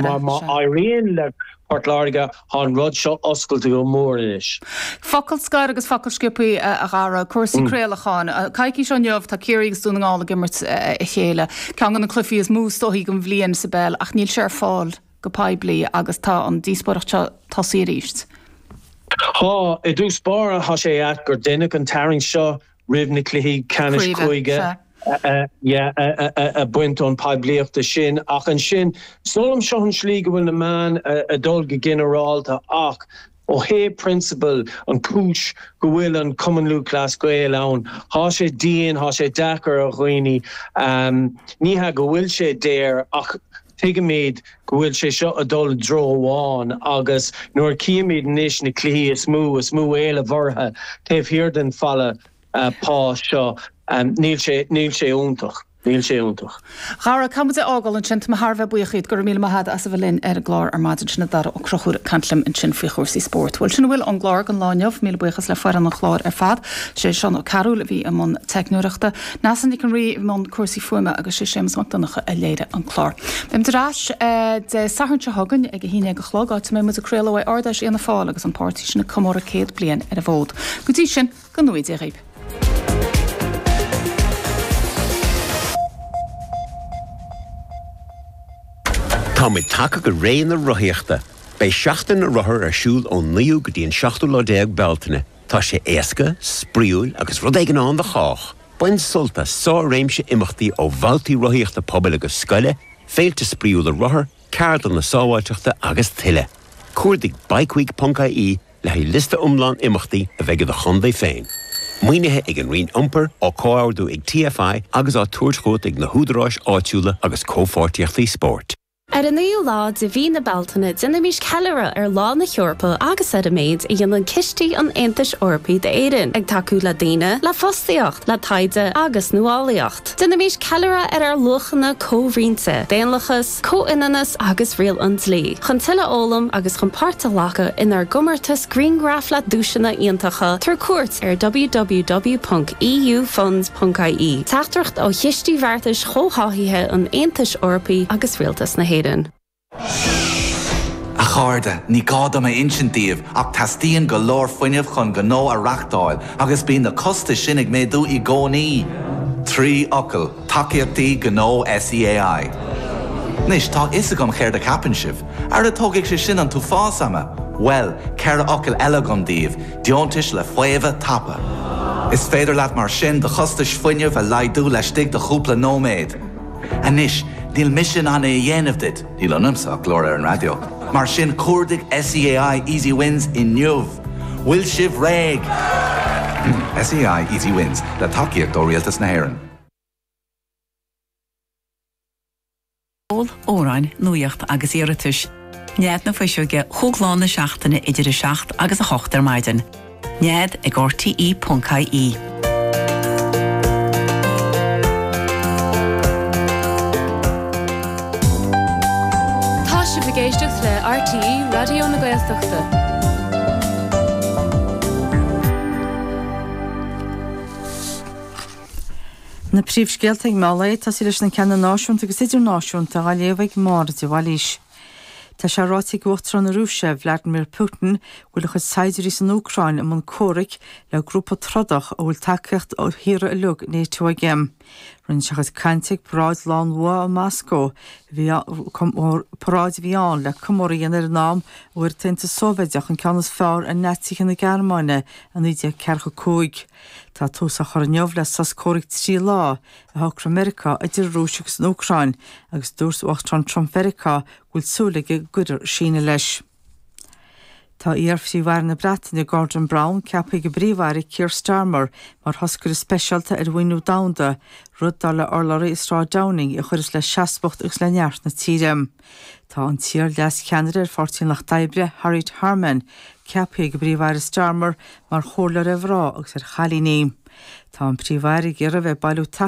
Mar má éiríonn le Port Láirge, tá an rud seo oscailte go mór anois. Focal scoir agus focal sciobtha, a Dhara. Cúrsaí craolacháin. Coicís ó inniu, tá Ciarraí agus Dún na nGall ag imirt a chéile. Ceann de na cluichí is mó is dóichí den bhliain sa bpeil ach níl sé ar fáil go poiblí agus tá an díospóireacht seo tosaithe arís. Tá. I dtús báire, tá sé ait gur deineadh an tarraingt seo roimh na cluichí ceannais cúige a bhaint ón poiblíochta sin. Ach ansin, is dóigh liom seo an slí go bhfuil na meáin ag dul go ginearálta ach ó thaobh prionsabail, an chúis go bhfuil an Cumann Lúthchleas Gael ann, tá sé dian, tá sé deacair ar dhaoine. Ní hea go bhfuil sé daor ach tuigimid go bhfuil sé seo ag dul i dtreo amháin agus nuair a chímid anois na cluichí is mó, is mó éileamh orthu taobh thiar den falla pá seo, níl sé, níl sé iontach. Níl sé iontach. Dhara, caithfidh muid é a fhágáil ansin. Tá mé thar a bheith buíoch dhíot. Go raibh míle maith agat as a bheith linn ar an gclár ar maidin. Sin é Dara Ó Conchúir ag caint liom ansin faoi chúrsaí spóirt. Bhuel, sin a bhfuil ón gclár don lá inniu. Míle buíochas le foireann an chláir ar fad. Sé Seán Ó Cearúil a bhí i mbun teicneoireachta. Neasa Nic an Rí i mbun cúrsaí fuaime agus sé Séamus Mac Donncha a léirigh an clár. Beidh muid ar ais Dé Sathairn seo chugainn ag 11 a chlog, áit a mbeidh muid ag craoladh ó Ard-Fheis Fhianna Fáil agus an páirtí sin ag comóradh 100 bliain ar an bhfód. Go dtí sin, go ngnóthaí Dia dhaoibh. Tá muid tagtha go ré na rothaíochta. Beidh Seachtain na Rothar ar siúl ón 9ú go dtí an 17ú lá Bealtaine. Tá sé éasca, spraíúil agus rud éigin ann do chách! Bain sult as sár-réimse imeachtaí ó bhabhtaí rothaíochta pobail agus scoile, féilte spraíúla rothar, ceardlanna sábháilteachta agus tuilleadh. Cuardaigh bikeweek.ie le haghaidh liosta iomlán imeachtaí a bheidh i do chontae féin. Maoinithe ag an Roinn Iompair, á comhordú ag TFI agus á tabhairt chugat ag na húdaráis áitiúla agus comhpháirtíochtaí spóirt. Ar an 9ú lá de mhí na Bealtaine, déanaimis ceiliúradh ar Lá na hEorpa agus ar an méid a dhéanann cistí an Aontais Eorpaigh d'Éirinn, ag tacú le daoine, le fostaíocht, le taighde agus nuálaíocht. Déanaimis ceiliúradh ar ár luachanna comhroinnte, daonlathas, comhionannas agus riail an dlí. Chun tuilleadh a fhoghlaim agus chun páirt a ghlacadh inár gcomórtas grianghraf le duaiseanna iontacha, tabhair cuairt ar www.eufunds.ie. Teachtaireacht ó Chistí Bheartais Chomhtháthaithe an Aontais Eorpaigh agus Rialtas na hÉireann. A chairde, ní gá dom a insint daoibh ach teastaíonn go leor fuinnimh chun gnó a reachtáil agus bíonn na costais sin ag méadú i gcónaí. 3 fhocal, tacaíochtaí gnó SEAI. Anois, tá a fhios agam céard a cheapann sibh. Ara tógfaidh sé sin an t-uafás ama! Bhuel, 4 fhocal eile agam daoibh, deontais le faomhadh tapa. Is féidir leat mar sin do chostais fuinnimh a laghdú laistigh de chúpla nóiméad. Anois, níl mise in ann é a dhéanamh duit, níl ionamsa ach glór ar an raidió, mar sin cuardaigh SEAI Easy Wins inniu! Bhfuil sibh réidh? SEAI Easy Wins, le tacaíocht ó Rialtas na hÉireann. Ceol, amhráin, nuaíocht agus iarratais. Nead na Fuiseoige chúig lá na seachtaine idir 7 agus 8 ar maidin. Nead ag rte.ie. Tá sibh ag éisteacht le RTÉ Raidió na Gaeltachta. Na príomhscéalta ag meán lae, ag tosaí leis na ceanna náisiúnta agus idirnáisiúnta, á léamh ag Máire de Bhailís. Tá sé ráite ag Uachtarán na Rúise, Vladimir Putin, go bhfuil a chuid saighdiúirí san Úcráin i mbun comhraic le grúpa trodach a bhfuil tacaíocht ó thíortha uilig NATO aige. Rinne sé a chuid cainte ag paráid Lá an Bhua i Moscó, paráid a bhí ann le comóradh a dhéanamh ar an am a bhfuair an tAontas Sóivéideach an ceann is fearr ar Naitsithe na Gearmáine i 1945. Tá tús á chur inniu le sos comhraic 3 lá a shocraigh Meiriceá idir an Rúis agus an Úcráin agus dúirt Uachtarán Trump Mheiriceá go bhfuil súil aige go gcuirfear síneadh leis. Tá iar-Phríomh-Aire na Breataine Gordon Brown ceaptha ag an bPríomh-Aire Keir Starmer mar thoscaire speisialta ar mhaoiniú domhanda, rud dar le urlabhraí i Sráid Downing a chuirfeas le seasmhacht agus le neart na tíre. Tá an t-iar-leascheannaire ar Pháirtí an Lucht Oibre, Harriet Harman, ceaptha ag an bPríomh-Aire Starmer mar chomhairleoir ar mhná agus ar chailíní. Tá an Príomh-Aire ag iarraidh a bheith ag bailiú tacaíochta.